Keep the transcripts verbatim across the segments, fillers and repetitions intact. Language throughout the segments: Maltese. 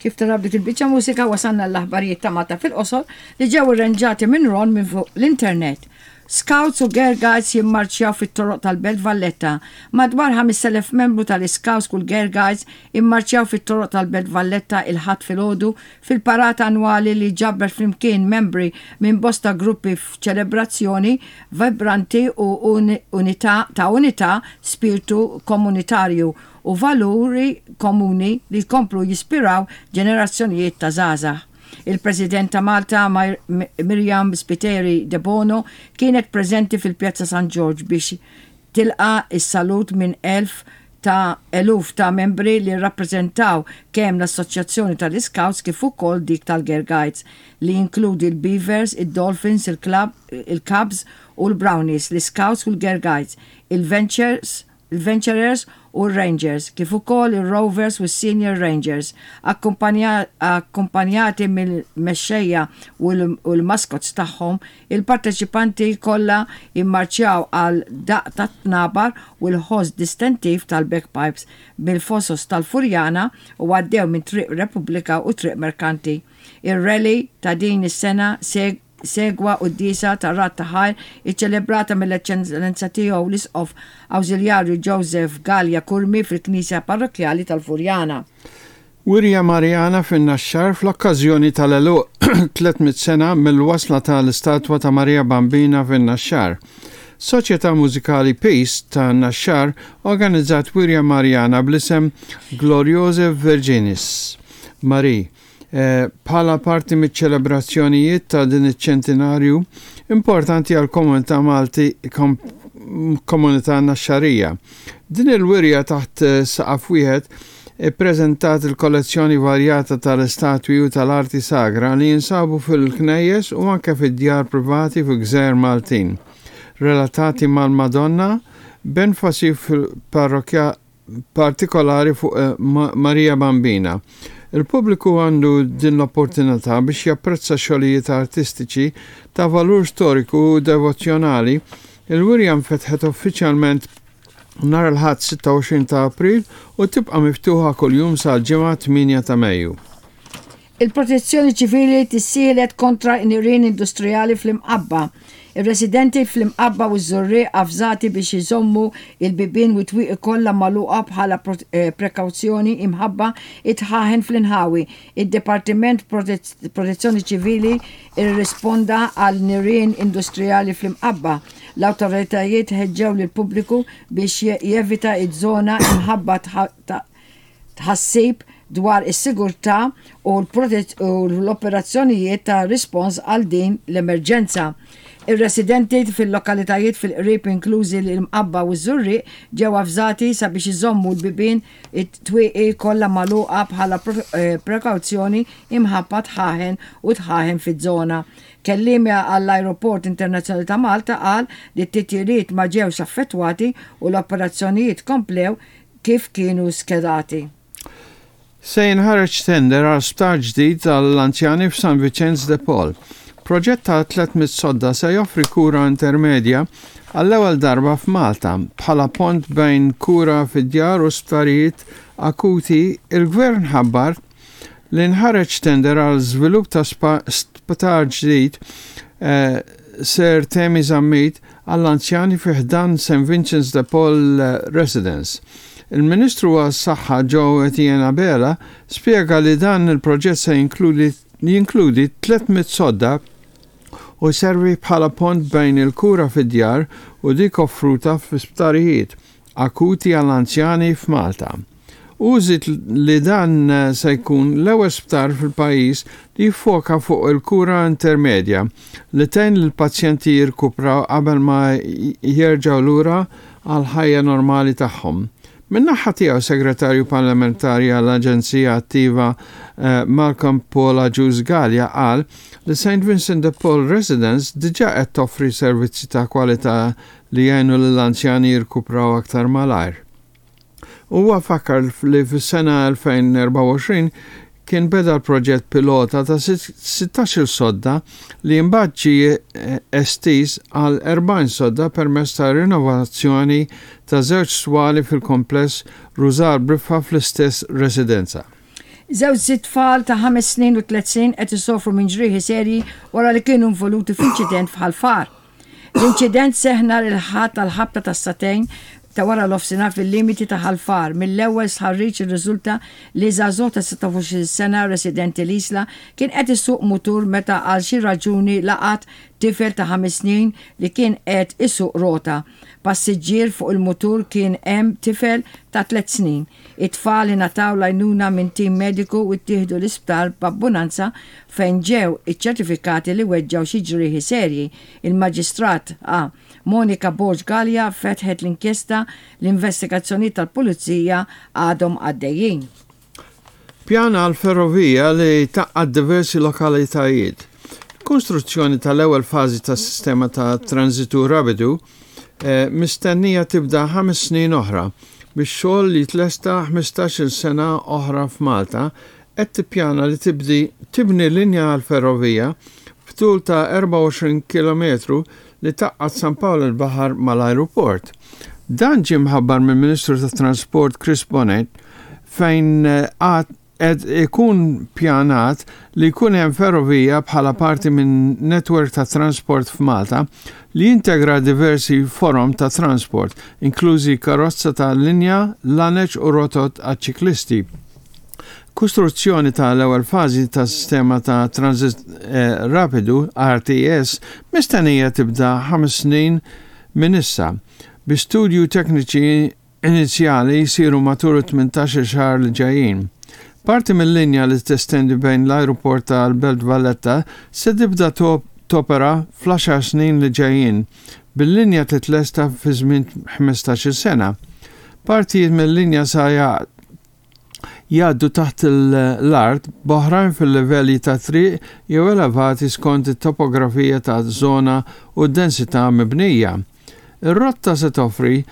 Kif tara b'dik il-biċċa mużika wasalna l-aħbarijiet ta' Malta fil-qosor li ġew irranġati minn Ron minn fuq l-internet. Scouts u Girl Guides jimmarċjaw fit-toroq tal-Belt Valletta. Madwar ħamest elef membru tal-Scouts u l-Girl Guides immarċjaw fit-toroq tal-Belt Valletta il-Ħadd filgħodu fil-parata annwali li ġabret flimkien membri minn bosta gruppi f'ċelebrazzjoni vibranti u unità ta' unità, spiritu komunitarju u valuri komuni li jkomplu jispiraw ġenerazzjonijiet ta' żgħażagħ. Il-President ta' Malta, Myriam Spiteri Debono, kienet preżenti fil-Pjazza San George biex tilqa is-salut minn elf ta' eluf ta' membri li rappresentaw kemm l-Assoċjazzjoni tal-Scouts kif ukoll dik tal-Girl Guides, li jinkludi l-Beavers, il-Dolphins, il-Cubs u l-Brownies, l-Scouts u l-Girl Guides, il-Ventures, il-Venturers u l-Rangers, kif ukoll il-Rovers u s-Senior Rangers, akkumpanjati mill-mexxejja u l-maskots tagħhom. Il-parteċipanti kollha immarċjaw għal daqq tat-tnabar u l-ħoss distintiv tal-bagpipes bil-fosos tal-Furjana u għaddew minn Triq Repubblika u Triq Merkanti. Ir-rally ta' din is-sena segwa quddiesa ta' radd ta' ħajr iċċelebrata mill-Eċċellenza Tiegħu l-Isqof Awżiljarju Joseph Galea Curmi fil-Knisja Parrokkjali tal-Furjana. Wirja Marjana fin-Naxxar fl-okkażjoni tal-għeluq tliet mitt sena mill-wasla tal-istatwa ta' Marija Bambina fin-Naxxar. Soċjetà Mużikali Peace ta' Naxxar organizzat Wirja Marjana bl-isem Gloriose Virginis Marie Eh, bħala parti miċ-ċelebrazzjonijiet ta' din iċ-ċentinarju importanti għal komunità Malti, komunità Naxxarija. Din il-wirja taħt eh, saqaf wieħed ippreżentat il-kollezzjoni varjata tal-istatwi u tal-arti sagra li jinsabu fil-knejjes u anke fid-djar privati fil-gżejjer Maltin relatati mal-Madonna, b'enfasi fil-parrokja partikolari fuq eh, Marija Bambina. Il-pubbliku għandu din l-opportunità biex japprezza xogħlijiet artistiċi ta' valur storiku u devozzjonali. Il-wirja nfetħet uffiċjalment nhar il-Ħadd sitta u għoxrin ta' April u tibqa' miftuħa kuljum sal-Ġimgħa tmienja ta' Mejju. Il-Protezzjoni Ċivili tissielet kontra nirien industrijali fl-Imqabba. Ir-residenti fl-Imqabba u ż-Żurrieq avżati biex jżommu il-bibien u twieqi kollha magħluqa bħala eh, prekawzjoni imħabba id-dħaħen fl-inħawi. Id-Dipartiment Protezzjoni Ċivili irrisponda għal nirien industrijali fl-Imqabba. L-awtoritajiet ħeġġew lill-pubbliku biex jevita iż-żona imħabba tħassib dwar is-sigurtà u l-operazzjonijiet ta' rispons għal din l-emerġenza. Ir-residenti fil-lokalitajiet fil-qrib, inklużi l-Imqabba u ż-Żurrieq, ġew avżati sabiex iżommu l-bibien, it-twieqi kollha magħluqa bħala eh, prekawzjoni imħabba dħaħen u dħaħen fiż-żona. Kelliem għall-Aeroport Internazzjonali ta' Malta qal li t-titjiriet ma ġewx affettwati u l-operazzjonijiet komplew kif kienu skedati. Se jinħareġ tender għal sptar ġdid għall-anzjani f'San Vicenz de Paul. Proġett ta' tliet mitt sodda se joffri kura intermedja għall-ewwel darba f'Malta bħala pont bejn kura fid-djar u sptarijiet akuti. Il-Gvern ħabbar li nħareġ tender għal żvilupp ta' sptar ġdid eh, Sir Temi Zammit għall-anzjani fi ħdan Saint Vincent's de Paul Residence. Il-Ministru għas-Saħħa Jo Etienne Abela spjega li dan il-proġett se jinkludi jinkludi tliet mitt sodda u servi bħala pont bejn il-kura fid-djar u dik offruta fi sptarijiet akuti għall-anzjani f'Malta. U żied li dan se jkun l-ewwel sptar fil-pajjiż li jiffoka fuq il-kura intermedja li tgħin lill-pazjenti jirkupraw qabel ma jerġgħu lura għal ħajja normali tagħhom. Min-naħa tiegħu, segretarju parlamentari għall-Aġenzija Attiva eh, Malcolm Paul Agius Galea qal li Saint Vincent de Paul Residence diġà qed toffri servizzi ta' kwalità li jgħinu lill-anzjani jirkupraw aktar malajr. Huwa fakkar li fis-sena elfejn u erbgħa u għoxrin kien beda l-proġett pilota ta' sittax-il sodda li mbagħad ġie eh, estiż għal erbgħin sodda permezz ta' rinnovazzjoni ta' żewġ swali fil-kompless Rużar Briffa fl-istess residenza. Żewġ tfal ta' ħames snin u tliet snin qed isofru minn ġrieħi serji wara li kienu involuti f'inċident f'Ħal Far. L-inċident seħħ nhar il-Ħadd tal-ħabta tas-sagħtejn ta' wara nofsinhar fil-limiti ta' Ħal Far. Mill-ewwel stħarriġ irriżulta li żagħżugħ ta' sitta u għoxrin sena residenti l-Isla kien qed isuq mutur meta għal xi raġuni laqat tifel ta' ħames snin li kien qed isuq rota. Passiġġier fuq il-mutur kien hemm tifel ta' tliet snin. It-tfal ingħataw l-għajnuna minn tim mediku u ttieħdu l-isptar b'ambulanza fejn ġew iċċertifikati li weġġaw xi ġrieħi serji. Il-Maġistrat A. Monica Borg Gallia fetħet l-inkjesta. L-investigazzjoni tal-Pulizija għadhom għaddejjin. Pjan għal ferrovija li tgħaqqad diversi lokalitajiet. Konstruzzjoni tal-ewwel fażi tas-sistema ta' transitu rapidu eh, mistennija tibda ħames snin oħra biex xogħol li tlesta ħmistax-il sena oħra. F'Malta qed tippjana li tibdi tibni linja għal ferrovija b'tul ta' erbgħa u għoxrin kilometru li tgħaqqad San Pawl il-Baħar mal-ajruport. Dan ġie mħabbar mill-Ministru tat Transport Chris Bonett, fejn għad qed ikun pjanat li jkun hemm ferrovija bħala parti minn netwerk ta' transport f'Malta li jintegra diversi forom ta' transport, inklużi karozza ta' linja, laneċ u rotot għal-ċiklisti. Kostruzzjoni ta' l-ewwel fażi ta' sistema ta' transit eh, rapidu R T S mistennija tibda ħames snin minn issa, bi studju tekniċi inizjali jsiru matul tmintax-il xahar li ġejjin. Parti mill-linja li testendi bejn l-aeroport tal-Belt Valletta se tibda topera fl-għaxar snin li ġejjin, bil-linja titlesta fi żmien ħmistax-il sena. Partijiet mill-linja sa jgħaddu taħt l-art, b'oħrajn fil-livelli ta' triq jew elevati skont it-topografija ta' zona u d-densità mibnija. Ir-rotta se toffri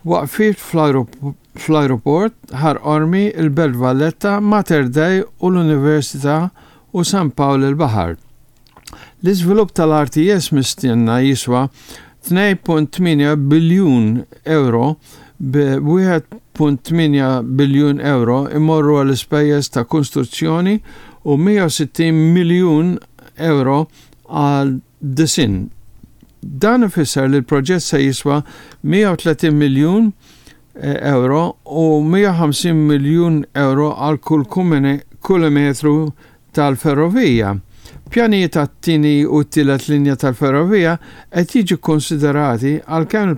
waqfiet fl-aeroport, Ħal Qormi, il-Belt Valletta, Mater Dei u l-Università u San Pawl il-Baħar. L-iżvilupp tal-R T S mistenna jiswa tnejn punt tmienja biljun euro, bi wieħed punt tmienja biljun euro imorru għall-ispejjeż ta' kostruzzjoni u mija u sittin miljun euro għal disinn. Dan ifisser li l-proġett se jiswa mija u tletin miljun eh, euro u mija u ħamsin miljun euro għal kull kilometru tal-ferrovija. Pjanijiet tat-tieni u t-tielet linja tal-ferrovija qed jiġu konsiderati, għalkemm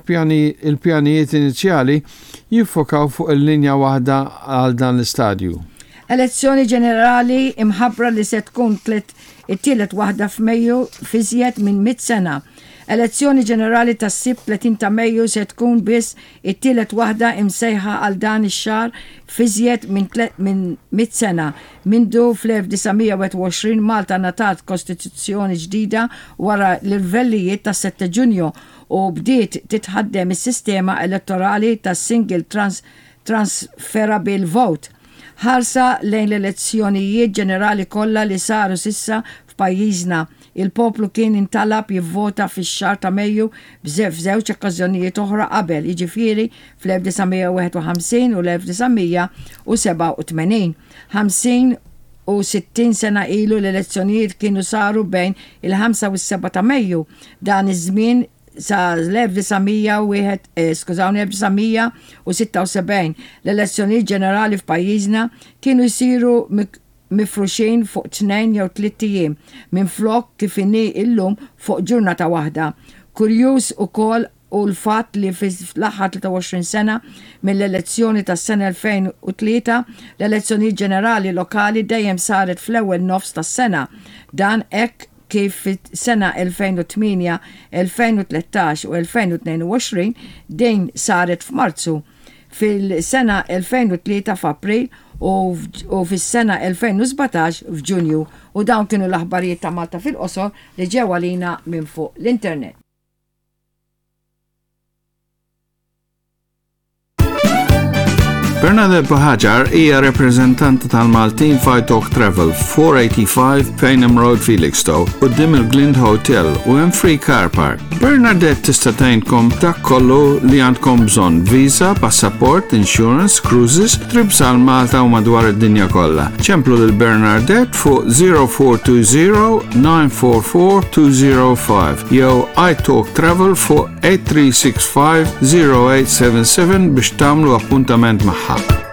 il-pjanijiet inizjali jiffokaw fuq il-linja waħda għal dan l-istadju. Elezzjoni ġenerali imħabbra li se tkun it-tielet waħda f'Mejju f'iżjed minn mit sena. Elezzjoni ġenerali tas-Sibt tletin ta' Mejju se tkun biss it-tielet waħda imsejħa għal dan ix-xahar f'iżjed minn mit sena. Mindu fl-elf disa' mija u wieħed u għoxrin Malta ngħatat kostituzzjoni ġdida wara l-irvellijiet tas sette Ġunju u bdiet titħaddem is-sistema elettorali tas-single trans transferable vote. Ħarsa lejn l-elezzjonijiet ġenerali kollha li saru s'issa f'pajjiżna, il-poplu kien intalab jivvota fix-xahar ta' Mejju f'żewġ okkażjonijiet oħra qabel, jiġifieri fl-elf disa' mija u wieħed u ħamsin u l-elf disa' mija u sebgħa u tmenin. ħamsin u sittin sena ilu l-elezzjonijiet kienu saru bejn il-ħamsa u s-sebgħa ta' Mejju. Dan iż-żmien sa l-elf disa' mija u wieħed, eh, skużawni, elf disa' mija u sitta u sebgħin l-elezzjonijiet ġenerali f'pajjiżna kienu jsiru mifruxin fuq tnejn jew tliet ijiem minflok kif inhi illum fuq ġurnata waħda. Kurjuż ukoll hu l-fatt li fl-aħħar tlieta u għoxrin sena, mill-elezzjoni tas-sena elfejn u tlieta, l-elezzjoni ġenerali lokali dejjem saret fl-ewwel nofs tas-sena. Dan hekk kif fis-sena elfejn u tmienja, elfejn u tlettax u elfejn u tnejn u għoxrin din saret f'Marzu, fil-sena elfejn u tlieta f'April u fis-sena elfejn u sbatax f'Ġunju. U dawn kienu l-aħbarijiet ta' Malta fil-qosor li ġew għalina minn fuq l-internet. Bernadette Buhagiar hija rappreżentanta tal-Maltin f'Italk Travel, four eighty-five Payneham Road, Felixstowe, quddiem il-Glind Hotel u hemm free car park. Bernadette tista' tgħinkom dak kollu li għandkom bżonn: visa, passaport, insurance, cruises, trips għal Malta u madwar id-dinja kollha. Ċemplu lil Bernadette fuq zero four two zero nine four four two zero five jew iTalk Travel fuq eight three six five zero eight seven seven biex tagħmlu appuntament magħha.